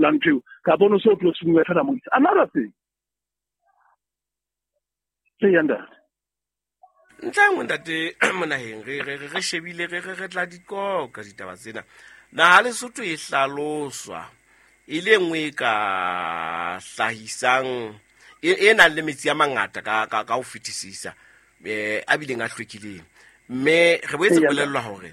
la ntho eo kapa o no se o tlo sengwe fela mo isa another thing. Ee, ntate. Ntlha e nngwe, ntate Monaheng, re shebile re tla dikoka ditaba tsena. Naha Lesotho e hlaloswa e le nngwe e ka hlahisang e nang le metsi a mangata ka ho fetisisa, a bileng a hlwekileng. Mme re boetse bolellwa hore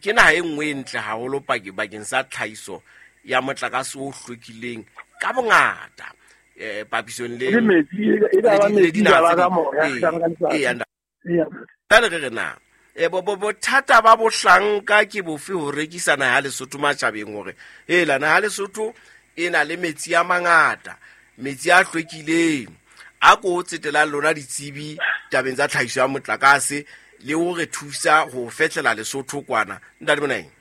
ke naha e nngwe e ntle haholo bakeng sa tlhahiso ya motlakase o hlwekileng ka bongata, papisong le dinaha tse ding. Jwale re re na bothata ba bohlanka ke bofe ho rekisa naha ya Lesotho matjhabeng hore hela naha ya Lesotho e na le metsi a mangata, metsi a hlwekileng, a ko tsetelang lona ditsebi tabeng tsa tlhahiso ya motlakase le ho re thusa ho fehlela Lesotho kwana. Ntate Monaheng.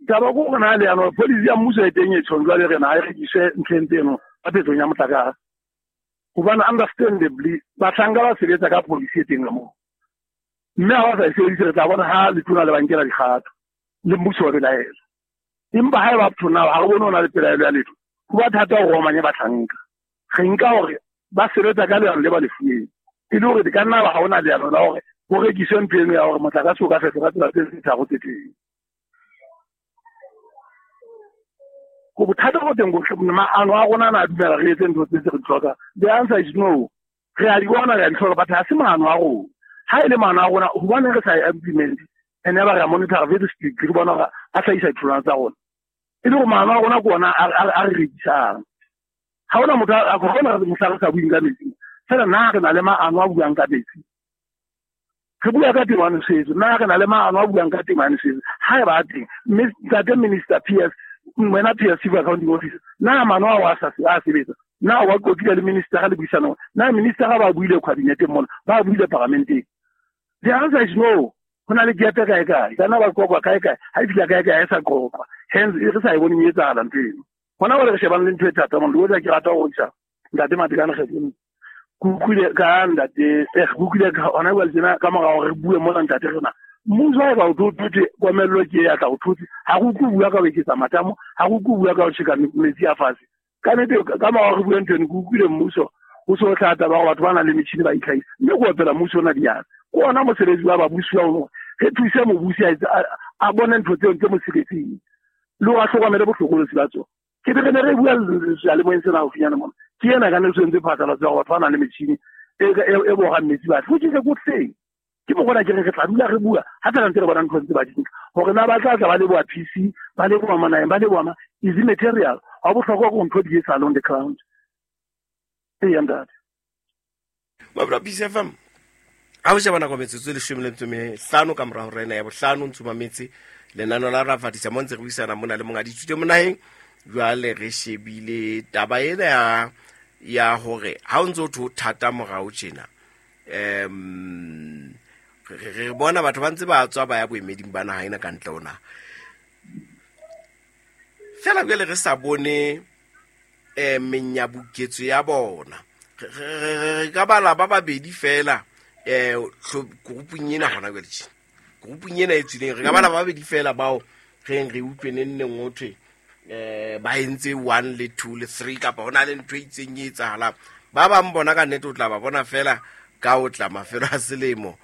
Taba ko rona leano policy ya mmuso e teng e tjhong jwale re na e rekiswe ntlheng tseno ka phetsong ya motlakase. Hobane understandably bahlanka ba sebetsa ka policy e teng ka moo. Mme ha ba sa e sebedise re tla bona ha letona le ba nkela dikgato le mmuso wa belaela. Empa ha eba up to now ha re bone ho na le pelaelo ya letho, ho ba thata hore o omanye bahlanka. Re nka hore ba sebetsa ka leano le ba le fuweng. E le hore di ka nna ba ha hona leano la hore ho rekiswe ntho eno ya hore motlakase o ka fetoha ka tsela tse tharo tse teng. Ko bothata bo teng bo maano a rona na dumela re etse ntho tse re di tlhokang. The answer is no. Re a di bona, re a di hloka, but ha se maano a rona. Ha e le maano a rona, hobaneng re sa e implement? And ya ba re a monitor very strictly, re bona hore a hlahisa ditholwana tsa rona. E le hore maano a rona ke ona a re rekisang. Ha hona motho a hona mohla re sa bueng ka metsi. Fela na re na le maano a buang ka metsi. Re bua ka temo ya nosetso, na re na le maano a buang ka temo ya nosetso. Ha e ba teng, mme ntate Minister PS, wena PS Chief Accounting Officer, na maano ao a sa a sebetsa? Na wa qoqile le minister le buisanong? Na minister ba buile kabineteng mona, ba buile parlamenteng? The answer is no. Ho na le gap kae kae, ka nna ba qoqwa kae kae, ha e fihla kae kae ha e sa qoqwa. Hence re sa e boneng e etsahala ntho eno. Hona jwale re shebane le ntho e thata mona, le hoja ke rata ho rekisa ntate Matekane kgethong. Ke utlwile ka ntate, ke utlwile ka hona jwale tjena ka mora hore re bue mona ntate rena. Mmuso ha eba o tlo thotse komello ke ya tla o thotse, ha re utlwe bua ka ho eketsa matamo, ha re utlwe bua ka ho tjheka metsi a fatshe. Ka nnete ka mora hore re bue ntho eno, ke utlwile mmuso ho so hlaha taba hore batho ba nang le metjhini ba itlhahisa. Mme ke opela mmuso ona diatla. Ke ona mosebetsi wa babusi wa hore re thuse mobusi a bone ntho tseo tse mo siretseng le hore a hlokomele bohlokolosi ba tsona. Ke be re ne re bua seyalemoyeng sena haufinyane mona. Ke ena ka ne se entse phatlalatso ya hore batho ba nang le metjhini e bohang metsi ba tle. Which is a good thing. Ke mo bona ke re re tla dula re bua ha fela ntse re bona ntho tse ba di nka. Hore na ba tla tla ba leboha PC, ba leboha Monaheng, ba leboha ma is immaterial. Ha bohlokwa ke ntho di etsahala on the ground. Ee, ntate. Mabra Peace FM. Ha o sheba nako metsotso e 15 ka mora hora ena ya bohlano ntse mametse lenano la Rafatisa mo ntse re buisana mona le monga dithuto monaheng. Jwale re shebile taba ena ya hore ha o ntse o thwe o thata morao tjena, re bona batho ba ntse ba tswa ba ya boemeding ba naha ena ka ntle ho naha. Fela jwale re sa bone menyabuketso ya bona. Re ka bala ba babedi fela, groupung ena hona jwale tje. Groupung ena e tswileng, re ka bala ba babedi fela bao re re utlwe neng neng ho thwe, ba entse 1 le 2 le 3 kapa hona le ntho e itseng e etsahalang. Ba bang bona ka nnete o tla ba bona fela ka o tla mafelo a selemo,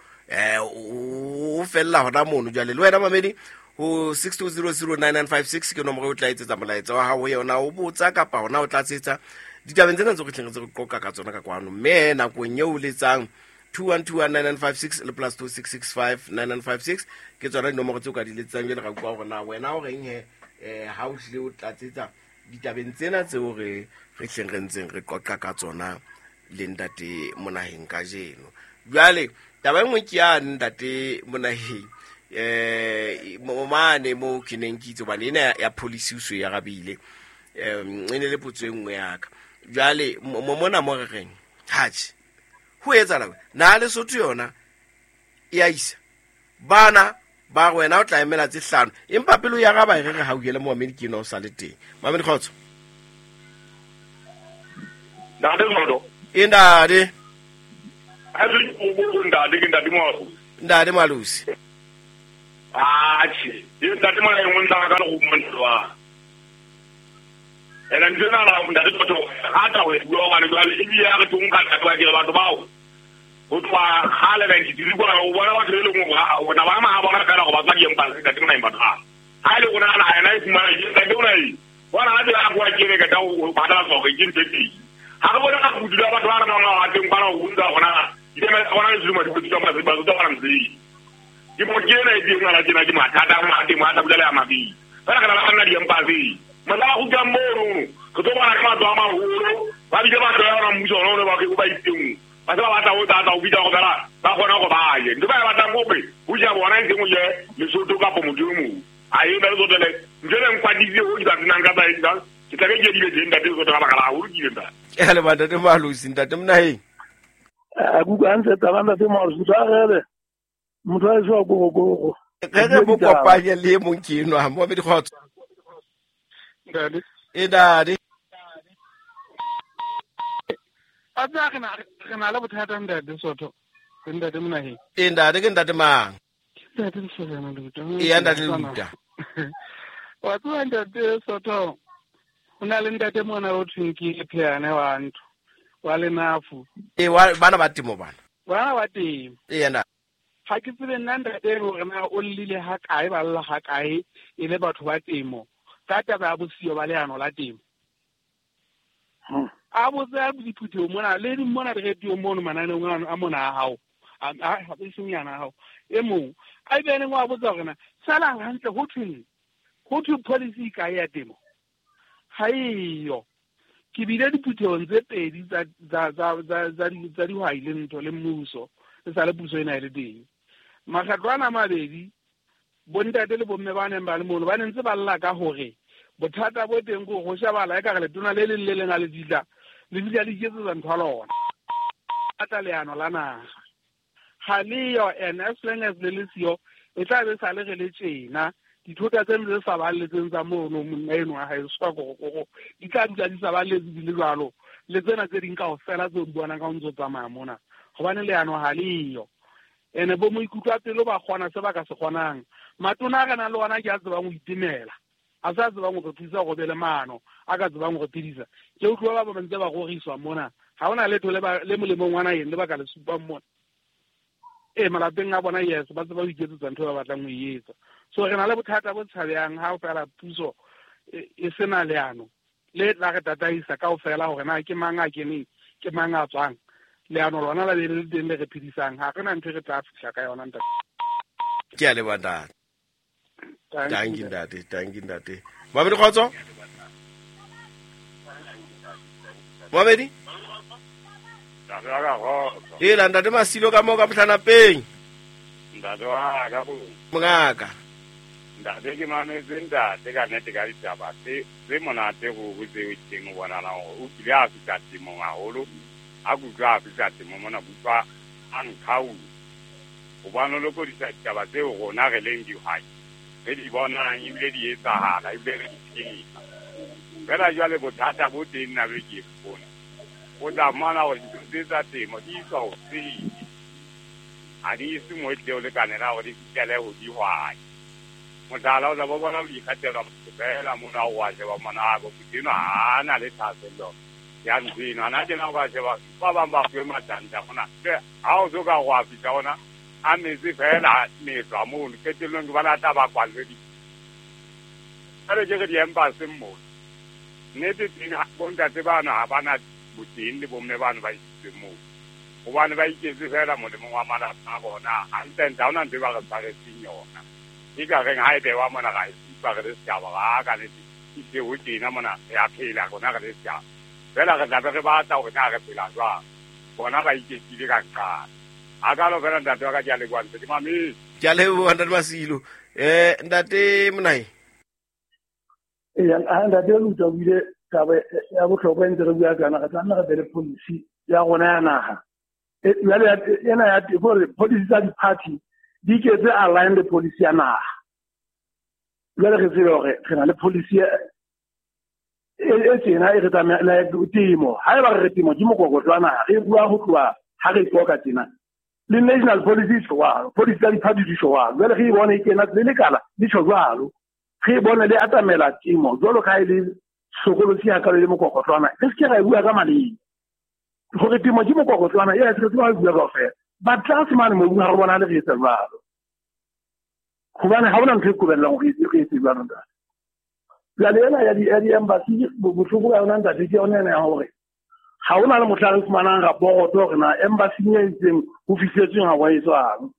o fella hona mono. Jwale le wena mamedi ho 62009956 ke nomoro e o tla etsetsa molaetsa wa hao ho yona, o botsa kapa hona o tlatsetsa ditabeng tsena tseo re tleng re tse re qoqa ka tsona ka kwano. Mme nakong eo o letsang 21219956 le plus 26659956 ke tsona dinomoro tseo ka di letsang. Jwale ra utlwa hore na wena o reng he, ha o hlile o tlatsetsa ditabeng tsena tseo re hleng re ntseng re qoqa ka tsona le ntate Monaheng kajeno. Jwale taba e nngwe ke ya ntate Monaheng, mane moo ke neng ke itse hobane ena ya policy o so e arabile, e ne le potso e nngwe ya ka. Jwale mona mo re reng hatjhe, ho etsahala na Lesotho yona e a isa bana ba re wena o tla emela tse hlano, empa pele o ya araba e re re hauhele momamedi ke ena o sa le teng. Mamedi kgotso. Ntate Zodo. E ntate. Ha se o ntate, ke ntate Moalusi. Ntate Moalusi. Atjhe, e ntate mona e nngwe ntla ka le go montwa. Ena ntse na la ntate Tsotho rata ho e bua hobane jwale ebile ya re tong ka ntate wa ke batho bao. Ho tloha kgale 93 kwana o bona batho e leng hore bona ba ma bona fela go ba tswa diempase ntate mona empa ha. Ha ile rona na ena e fumana ke ntate ona e. Bona ha tsela go a kere ka tao o batla tswa ke ntse teng. Ha re bona ka go dula batho ba re nang ba teng kwana go ntsa gona. Di ma gona le tsuma di tswa ba ba tswa ba mtsi. Ke mo ke ena e teng ngwana tjena ke mathata a ma teng mathata bula ya mabi. Fela kana la nna diempase. Mala go ka mono go tlo bona ka batho ba maholo ba bile ba tloya ona mmuso ona o ne ba ke ba itseng. Ba se ba batla ho tata ho bitsa go fela ba kgona go ba je. Ntho ba e batlang gope ho ja bona e seng o je Lesotho kapo motho e mong. A e ba le tsotele ntho e nkwaditse ho di ba tsenang ka tsa ke tla ke ke di be ntate Tsotho ka baka la haholo ke ile ntate. Ke a leboha ntate Malosi, ntate Monaheng. A kuka ntse taba ntate Malosi tsa rele. Motho a tswa go go. Re re mo kopanye le mong ke enwa mo be dikgotso. Ntate. E ntate. A tsa re na le bothata ntate Sotho. Ke ntate Monaheng. E ntate ke ntate mang? Ntate Sotho Luta. E ntate Luta. Wa tswa ntate Sotho. O na le ntate mona o thweng ke Pheane wa ntho. Wa lenafu. E wa bana ba temo bana. Bana ba temo. E ntate. Ha ke tsebe nna ntate hore na o llile ha kae ba lla ha kae e le batho ba temo. Ka taba ya bosiyo ba leano la temo. A botsa diphutheo mona le di mona re radio mono mananeong a mona a hao. A e seng yana hao. E mong a be neng wa botsa hore na sala hantle ho thweng. Ho thwe policy ka ya temo. Ha eyo. Ke bile diphutheong tse pedi tsa dihwai le ntho le mmuso. E sa le puso ena e le teng. Makgetlo ana a mabedi bontate le bomme ba neng ba le mono ba ne ntse ba lla ka hore bothata bo teng ke go shebala e ka re letona le leng le leng a le ditla le ditla le iketsetsa ntho ya lona. Ata leano la naha ga leyo, and as long as le le siyo e tla be sa le re le tjena dithota tse ntse sa balletseng tsa mono monna eno wa hae swa go di tla dula di sa balletse di le jwalo le tsena tse ding kaofela tseo di bonang ka o ntso tsamaya mona gobane leano ga leyo. Ene bo moikutlo a pelo ba kgona se ba ka se kgonang. Matona a re nang le ona ke a tsebang ho itemela. A sa tsebang ho re thusa go be le maano, a ka tsebang ho re phedisa. Ke utlwa ba ba ntse ba roriswa mona. Ha hona letho le molemong wa naheng le ba ka le supang mona. E malapeng a bona yes, ba tseba ho iketsetsa ntho ba batlang ho e etsa. So re na le bothata bo tshabehang ha o fela puso e sena leano le tla re tataisa kaofela hore na ke mang a keneng, ke mang a tswang. Leano lona la be le teng le re phedisang. Ha re na ntho e re tla fihla ka yona ntate. Ke a leboha ntate. Thank you ntate, thank you ntate. Mamedi kgotso? Mamedi? E la ntate Masilo ka moo ka Mohlanapeng. Ntate wa ka bo. Mongaka. Ntate ke mametse ntate ka nnete ka ditaba tse monate go tseo teng o bonala hore o kile a fihla temong haholo. A kutlwa a fihla temong mona kutlwa a nkhaula. Hobane o lokodisa ditaba tseo rona re leng dihwai. Re di bonang ebile di etsahala ebile re di phela. Fela jwale bothata bo teng nna be ke bona. O tla mmona hore dintho tse tsa temo di iswa ho sele. Ha di ise moo e tlileng ho lekanela hore di fihlele ho dihwai. Mohlala o tla bo bona o ikgatela motho fela mona o wa sheba mona motho enwa ha na le thahasello ya ntho eno. Hana tjena o ka sheba ba bang ba fuwe matanta mona. Ha o so ka wa fihla ona a metsi fela metlwa mono qetellong ke bona tla ba kwallwe di. Jwale ke re di-embassy mono. Nnete teng bontate bana ha bana boteng le bomme bano ba isitsweng moo. Hobane ba iketse fela molemong wa malapa a bona. Hantle-ntle ha hona ntho e ba re tshwaretseng yona. E ka reng ha e bewa mona ra e supa re le setjhaba ha ka nnete ehlile ho tjena mona re a phela rona re le setjhaba. Fela re tla be re batla hore na re phela jwang. Bona ba iketsile ka nqane. A ka lo fela ntate wa ka ke a leboha ntse ke mametse. Ke a leboha ntate Masilo. Ntate Monai. A ntate Luta o ile taba ya bohlokwa e ntse re bua ka yona, re tla nna re be le policy ya rona ya naha. Jwale ena ya hore policy tsa di-party di iketse align le policy ya naha. Jwale re tsebe hore re na le policy e tjena e re tsamaya temo. Haeba re re temo ke mokokotlo wa naha, re bua ho tloha ha re qoqa tjena. Le national policy e tjho jwalo, policy tsa diphathi di tjho jwalo. Jwale re e bone e kena le lekala le tjho jwalo. Re e bone le atamela temo jwalo ka ha e le hlokolosi hakalo e le mokokotlwana. Re se ke ra e bua ka maleme. Hore temo ke mokokotlwana, e se re tseba ho e bua kaofela. But tlase mane mobung ha re bonahale re etsa jwalo. Hobane ha hona ntho e qobellang hore re etse jwalo, ntate. Jwale ena ya di-embassy, bohloko ba yona, ntate, ke yona ena ya hore ha hona le mohla re fumanang raporoto hore na embassy e itseng ho fihletsweng ha wa etswang.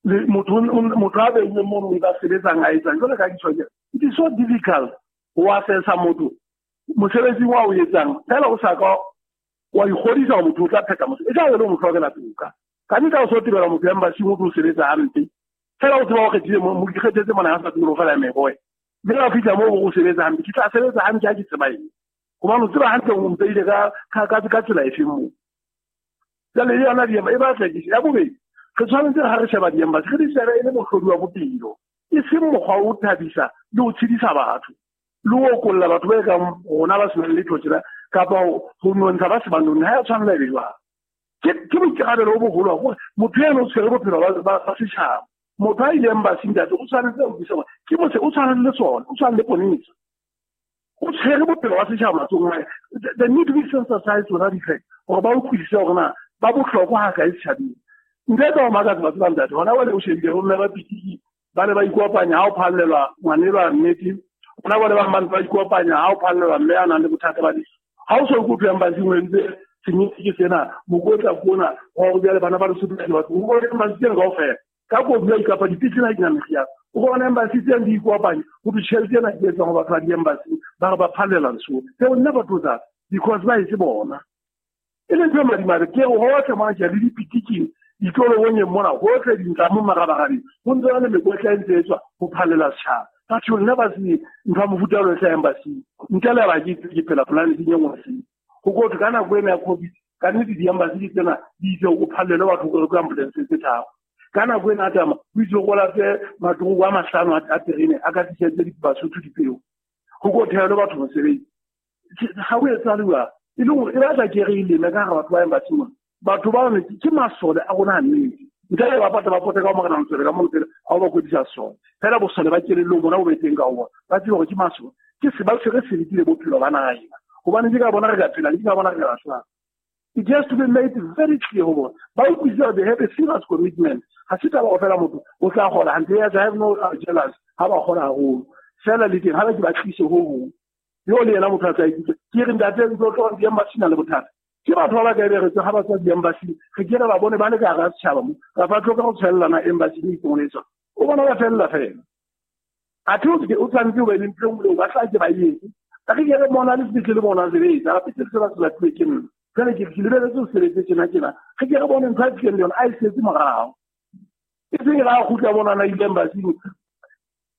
Le motho a beilweng mono o ntsa sebetsang a etsang jwale ka ke tjho, it is so difficult ho assessa motho mosebetsing wa o etsang fela o sa ka wa ikgodisa hore motho o tla phetha mosebetsi. E tla be le mo hlokela toka. Ka nnete ha o so tebela motho embassy o tlo sebetsa hampe. Fela o tseba o kgethile mo ikgethetse mona ha sa tsebe ho fela meboe. Mme ha o fihla moo o sebetsa hampe, ke tla sebetsa hantle ha ke tseba eng. Hobane o tseba hantle o mpeile ka tsela efeng moo. Jwale le yona e batla ke ya bobedi, re tshwanetse ha re sheba di-embassy, re di shebe e le mohlodi wa bophelo, e seng mokgwa o thabisa le ho tshedisa batho, le ho okolla batho ba kang rona ba senang letho tjena, kapa ho nontsha ba se ba nonne. Ha ya tshwanela e be jwalo. Ke boikarabelo bo boholo hore motho eno o tshwere bophelo ba setjhaba. Motho a ile embassy ntate o tshwanetse ho utlwisisa hore ke motse o tshwanang le sona, o tshwanang le ponesa. O tshwere bophelo ba setjhaba matsohong a hae. They need to be sensitized to that effect, hore ba utlwisise hore na ba bohlokwa ha kae setjhabeng. Ntho e ka o makatsa batho ba ntate, hona jwale o shebile ho mme ba pitiki, ba ne ba ikopanya ha o phallelwa ngwanelwa nnete. Hona jwale ba bang ba ikopanya ha o phallelwa mme a nang le bothata ba lefu. Ha o so ikutlwe embassy o entse senyetsi ke sena, mokotla ke ona, wa hore jwale bana ba Lesotho ba batho, o bone embassy tsena kaofela. Ka kopi ya kapa dipetlele ha di na meriana. O bona embassy tsena di ikopanya, ho thwe tjhelete ena ke etsang ho batho ba di-embassy, ba re ba phallela Lesotho. They will never do that because ba etse bona. E le ntho e madimabe, ke re hohle mona ke le dipitiking, ditolobongeng mona, hohle dintlamong marabarabeng, ho ntse ho na le mekotla e ntse e tswa ho phallela setjhaba. But you'll never see ntho ya mofuta o hlahang embassy. Ntle le ha ke itse ke phela planeteng e nngwe sele. Ho kotwe ka nako ena ya COVID, ka nnete di-embassy di tsena di itse o phallele batho o ka ambulance tse tharo. Ka nako ena tama, o itse o lape matoroko a mahlano a terene a ka tlisetse Basotho dipeo. Ho ko thehelwe batho mosebetsi. Ha o etsahale jwalo. E le hore e batla ke re e leme ka hara batho ba embassy mona. Batho ba ne ke masole a rona a nnete. Ntle le ba pata ba pote ka ho morena Motswele ka mo Motswele, ha o ba kwetlisa sesole. Fela bosole ba kelellong bona bo be teng ka ho bona. Ba tsebe hore ke masole. Ke se ba tshwere seriti le bophelo ba naha ena. Hobane ke ka bona re ka phelang, ke ka bona re ka lahlang. It has to be made very clear ho bona. Ba utlwisise hore they have a serious commitment. Ha se taba hore fela motho o tla kgola hantle. Yes, I have no jealous ha ba kgola haholo. Fela le teng ha ba ke ba tlise ho hong. Yo le yena motho a tla ikutlwa. Ke re ntate ntlo tlo di-embassy na le bothata. Ke batho ba ba ka be re ha ba tswa di-embassy, re ke re ba bone ba le ka hara setjhaba mo. Ra ba tloka ho tshwellana embassy e itseng le tsona. O bona ba fella fela. Athe o ke o tshwanetse o be le ntho e nngwe ba tla ke ba etse. Ka re ke re bona le sepetlele bona sebetsa, gape se se ba se latuwe ke nna. Jwale ke lebeletse ho sebetse tjena tjena. Re ke re bone ntho a tlileng le yona, a e setse morao. E seng ra kgutla bona na ile embassy.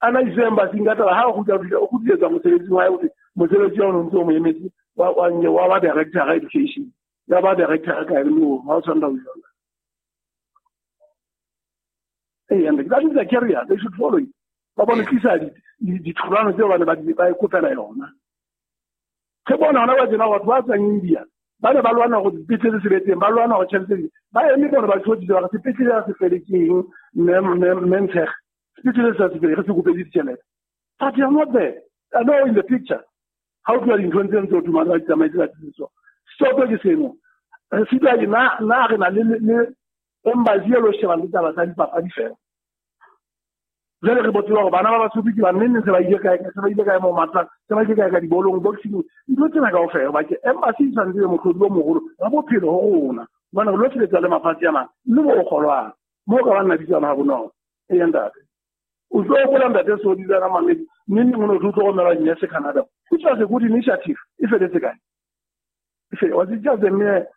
A na iswe embassy ka taba ha o kgutla o kgutlisetsa mosebetsing wa hae, o mosebetsi wa o ntse o mo emetse wa ba director education. Ya ba director ka ene o ha o tshwanela ho jwala. Hey, and that is a career, they should follow it. Ba bone tlisa ditholwana tseo ba ne ba ikopela yona. Ke bona hona ba tjena batho ba tswang India, ba ne ba lwana hore dipetlele se be teng, ba lwana hore tjhelete di, ba eme bona ba tjhodile ba re sepetlele ha se fele ke eng, mme Ntshege. Sepetlele se sa se fele, re se kopetse ditjhelete. But they are not there. They are not in the picture. Ha o tloha dinthong tseno tse o tumang ba di tsamaetse ba tsitso. Stop ke seno. Re sitwa ke na re na le embassy e lo shebang le taba tsa dipapadi fela. Jwale re botse hore bana ba Basotho ke ba nnene se ba ile kae, se ba ile kae mo matlang, se ba ile kae ka dibolong, boxing, ntho tsena kaofela. Ba ke embassy e tshwanetse e mohlodi o moholo wa bophelo ho rona. Hobane re lo sebetsa le mafatshe a mang, mme bo o kgolwang. Moo ka ba nna bitsana ha bonolo. Eya ntate. O tlo hopola ntate Sodi le yena Mamedi, mme neng o ne o tlo romela dinese Canada. Which was a good initiative. E feletse kae? E was it just a mere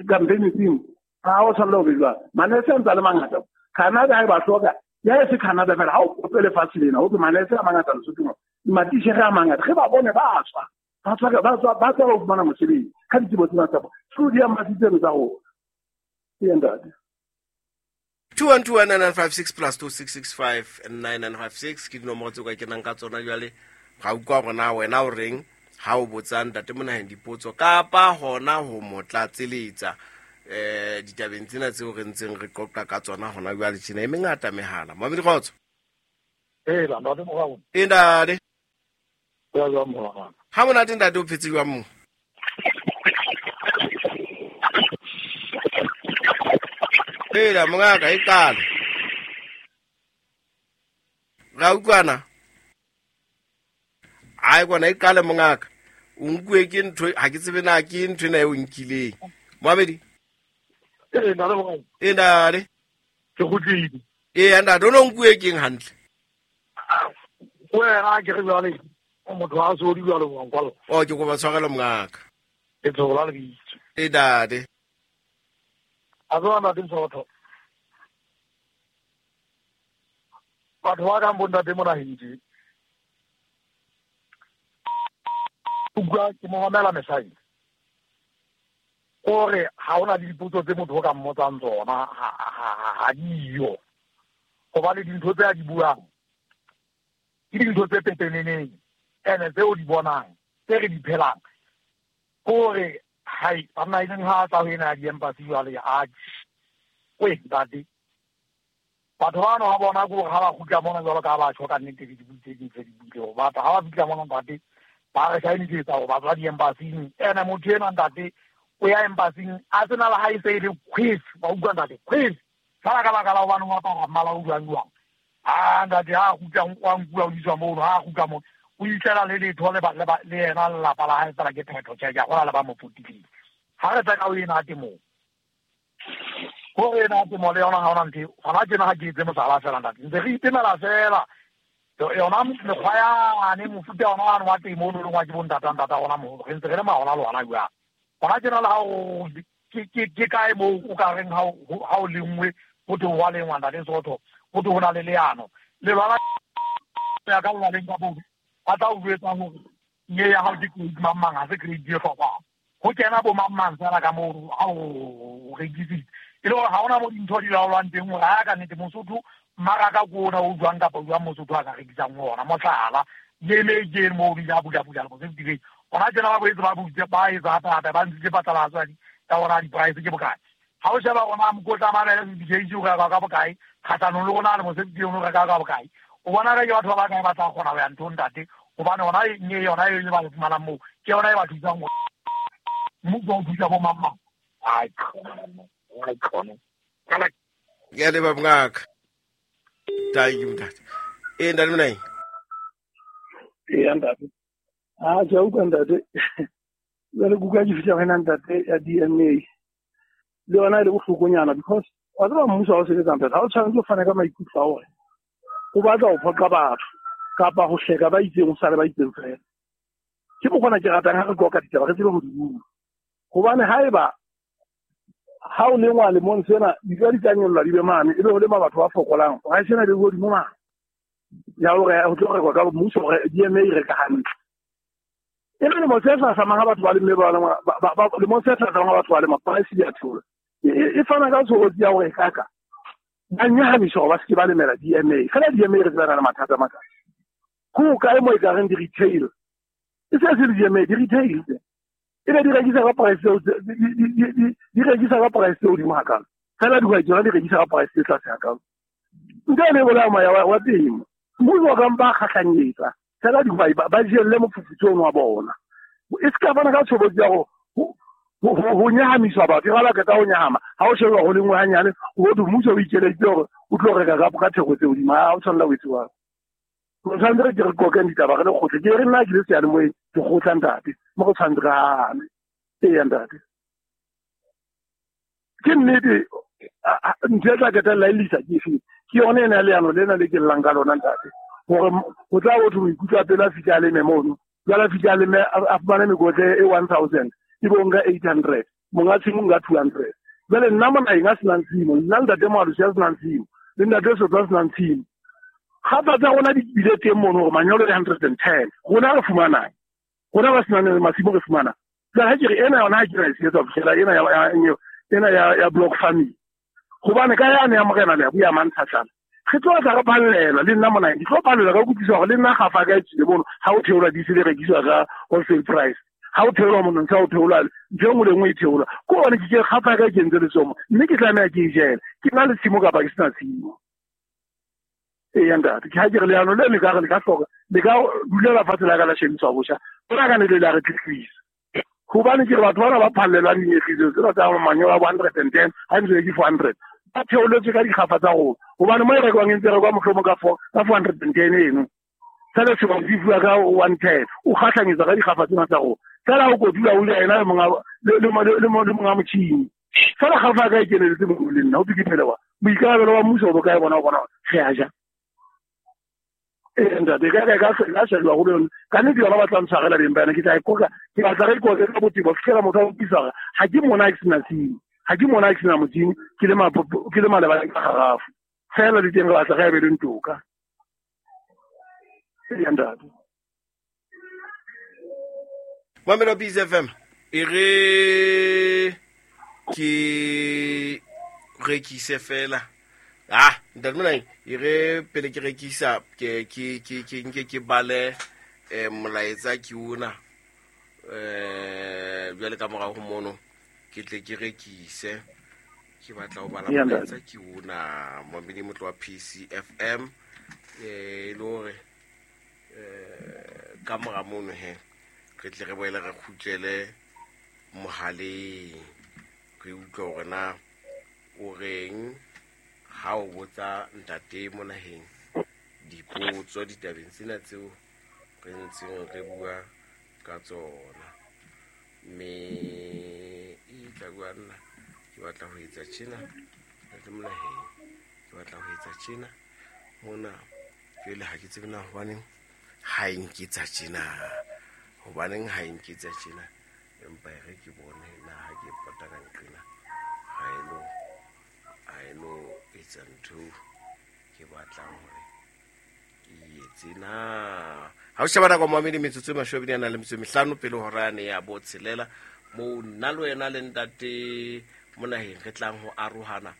campaign thing? Ha o tshwanela ho be jwalo. Manese a ntse a le mangata. Canada ha e ba hloka, ya e se Canada fela, ha o kope lefatshe lena, ho thwe manese a mangata Lesotho mona. Matitjhere a mangata. Re ba bone ba tswa. Ba tswa ba tswa, ba tswa ho fumana mosebetsi. Ka ditsebo tsena tsa bona. Through di-embassy tseno tsa rona. Eya ntate. 2129956 plus 26659956 ke dinomoro tseo ka kenang ka tsona jwale. Ra utlwa hore na wena o reng ha o botsa ntate Monaheng dipotso kapa hona ho mo tlatseletsa. Ditabeng tsena tseo re ntseng re qoqa ka tsona hona jwale tjena e mengata mehala. Moamedi kgotso. Ee, ntate Morao. Ee ntate. Ya jwang morao. Ha monate ntate, o phetse jwang mo? Ee, mongaka e qale. Ra utlwana. Ai kwana e qale mongaka. O nkuwe ke ntho ha ke tsebe na ke ntho ena e o nkileng. Moamedi. Ee, ntate Morao. Ee ntate. Ke kgutlile. Ee ntate, o no nkuwe keng hantle? Wena ke re jwale motho ha so di jwalo wa nkwalla. O ke kopa tshwarelo mongaka. Ke tsola lebitso. Ee ntate. A tswa ntate Msotho. Batho ba kang bo ntate Monaheng tje. Utlwa ke mo mamela mesai. Kore ha hona le dipotso tse motho o ka mmotsang tsona ha diyo. Hobane dintho tse a di buang ke dintho tse pepeneneng ene tse o di bonang tse re di phelang. Kore hai banna e leng ha tla ho ena ya di-embassy jwale a we ntate. Batho bano ha bona ke hore ha ba kgutla mona jwalo ka ha ba tjho ka nnete le dibui tse ding tse di buileng. Batho ha ba fihla mona ntate ba re shainisetsa hore ba tswa di-embassy-ing. Ene motho enwa ntate o ya embassy-ing a sena le ha e se e le quiz, wa utlwa ntate, quiz. Fela ka baka la hobane o apara mmala o jwang jwang. Ah ntate ha kgutla o nkuwa o iswa mono, ha kgutla mono o itlela le letho le le yena lelapa la hae fela ke phetho tjhe, ke a kgolwa le ba mo potileng. Ha re tla ka o ena temong. Hore ena temo le yona ha hona ntho, hona tjena ha ke etse mohlala fela ntate. Ntse re itemela fela. Yona mekgwa yane mofuta ona wane wa temo o no leng wa ke bo ntata ntata rona moholo. Re ntse re lema hona le hona jwang. Hona tjena le ha o ke kae moo o ka reng ha o lengwe ho thwe ho a lengwa ntate Sotho, ho thwe ho na le leano. Lelwala ya ka lelwaleng ka moo ba tla o jwetsa hore nye ya hao ke grade mang mang, ha se grade e hlokwang. Ho kena bo mang mang fela ka moo ha o rekisitse. E le hore ha hona mo dintho di laolwang teng hore ha ka nnete Mosotho mmaraka ke ona o jwang kapa jwang Mosotho a ka rekisang ona. Mohlala, le ke moo di a bula bula le se hona tjena ba boetse ba butse ba etsa hape hape ba ntshitse phatlalatso ya hore di-price ke bokae. Ha o sheba rona mokotla mabele se o reka ka bokae, kgahlanong le rona le mosebetsi o reka ka bokae. O bona ka ke batho ba bakae ba tla kgona ho ya nthong ntate, hobane hona nye yona e ba fumanang moo ke yona e ba thusang hore mmuso o thusa bo mang mang. Ai khona, ai khona. Ke a leboha mongaka. Thank you ntate. Ee ntate Monaheng. Ee ntate. Ah ke a utlwa ntate. Jwale ke utlwa ke fihla ho wena ntate ya DNA. Le yona e le bohlokonyana because wa tseba mmuso ha o sebetsa ntate, ha o tshwanetse o fane ka maikutlo a hore o batla ho phoqa batho kapa ho hleka ba itseng ho sale ba itseng fela. Ke mokgwa ke ratang ha re qoqa ditaba re tsebe ho di bua. Hobane haeba ha o lengwa lemong sena dijo di tla nyollwa di be mane, ebe ho lema batho ba fokolang, price ena e be hodimo mane. Ya hore ho tlo rekwa ka mmuso hore DNA e reka hantle. E le lemo se hlahlamang ha batho ba lemme ba lemong se hlahlamang ha batho ba lema price di a theola. E fana ka tshobotsi ya hore kaka ba nyahamiswa hore ba se ke ba lemela DNA. Fela DNA re tsebana le mathata a makae. Ho kae mo e ka reng di-retail? E se se le DNA, di-retail tse. Ebe di rekisa ka price tseo di rekisa ka price tse hodimo hakalo. Fela dihwai tsona di rekisa ka price tse tlase hakalo. Ntho ena e bolaya moya wa temo. Mmuso o ka mpa a kgahlanyetsa. Fela dihwai ba jelle mofufutso ono wa bona. E se ka fana ka tshobotsi ya ho nyahamiswa batho. E ba qeta ho nyahama. Ha o sheba ho lengwe hanyane, ho thwe mmuso o ikeleditse hore o tlo reka ka theko tse hodimo. Ha o tshwanela ho etsuwa. Re tshwanetse re ke re qoqeng ditaba re le kgotle. Ke re nna ke le seyalemoyeng ke kgotla ntate. Mo go tshwanetse re hane. Eya ntate. Ke nnete ntho e tla qetella e lisa ke efeng? Ke yona ena ya leano lena le ke llang ka lona ntate. Hore ho tla ho thwe maikutlo a pele a fihle a leme mono. Jwale a fihle a leme a fumane mekotla e 1000 ebe o nka 800, monga tshimo o nka 200. Jwale nna Monaheng a senang tshimo, nna ntate Moalosi a senang tshimo, le ntate Sotho a senang tshimo. Kgapha tsa rona di bile teng mono hore manyolo ke 110. Rona re fumanang. Rona ba senang masimo re fumana. Jwale ha ke re ena yona ha ke ra e sebetsa ho fihlela ena ya block farming. Hobane ka yane ya morena le ya buya mantlhatlana. Re tlo tla re ballelwa le nna Monaheng. Ke tlo ballelwa ka kutlwisa hore le nna kgafa ka e tswile mono ha o theolwa di se di rekiswa ka wholesale price. Ha o theolwa monontsha o theolwa ntho e nngwe le nngwe e theolwa ko gone ke kgafa ka ke entse letsomo mme ke tlameha ke e jele ke na le tshimo kapa ke sena tshimo. Ee ntate, ke ha ke re leano le le ka re le ka hloka le ka dulela fatshe la ka la shebiswa botjha ona ka ne le la re tletlisa hobane ke re batho bana ba phallelwang dinyefiso tsena tsa manyolo a bo 110 ha ntse ke 400 ba theoletswe ka dikgafa tsa rona hobane mo e rekwang e ntse rekwa mohlomong ka 410 eno fela sehwai se fuwa ka 110 o kgahlanyetsa ka dikgafa tsena tsa rona fela o kotula o le ena le monga motjhini fela kgafa ka e keneletse mo le nna o ke phele wa boikarabelo ba mmuso bo kae bona bona re a ja. Ee ntate, ka shejwa go yone ka nnete yona ba tla ntshwarela beng ba yona ke tla e koka ke batla re ikoke ka botebo fitlhela motho a utlwisa gore ga ke mona ke sena tshimo ga ke mona ke sena motšhini ke le malebana ka garafu fela le teng re batla re abeleng toka. Ee ntate. Mamelo Peace FM e re ke rekise fela ntate Monaheng e re pele ke rekisa ke nke ke bale molaetsa ke ona jwale ka morago mono ke tle ke rekise ke batla ho bala molaetsa ke ona momedi motlo wa PCFM e le hore ka mora mono he re tle re boele re kgutlele mohaleng re utlwe hore na o reng ha o botsa ntate Monaheng dipotso ditabeng tsena tseo re ntseng re bua ka tsona mme e tla bua nna ke batla ho etsa tjena ntate Monaheng ke batla ho etsa tjena mona jwale ha ke tsebe na hobaneng ha e nketsa tjena hobaneng ha e nketsa tjena empa e re ke bone na ha ke pota ka nqena ha e no etsa ntho ke batlang hore ke etse na. Ha o sheba nako mamedi metsotso e 25 pele hora yane ya bo tshelela moo nna le wena le ntate Monaheng re tlang ho arohana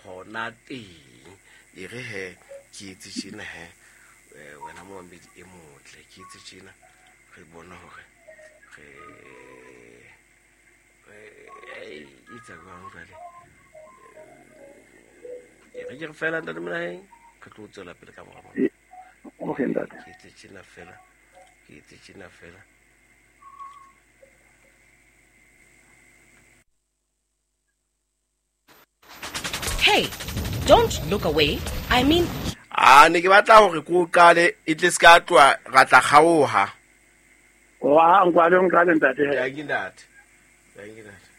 hona teng e re he ke etse tjena he wena momamedi e motle ke etse tjena re bone hore re etsa jwang jwale e re ke re fela ntate Monaheng re tlo tswela pele ka mora mona. Okay ntate. Ke etse tjena fela ke etse tjena fela. Hey, don't look away. I mean ne ke batla hore ko qale e tle ska tloa ra tla kgaoha. Wa nkwale ntate. Ya ke ntate. Ya ke ntate.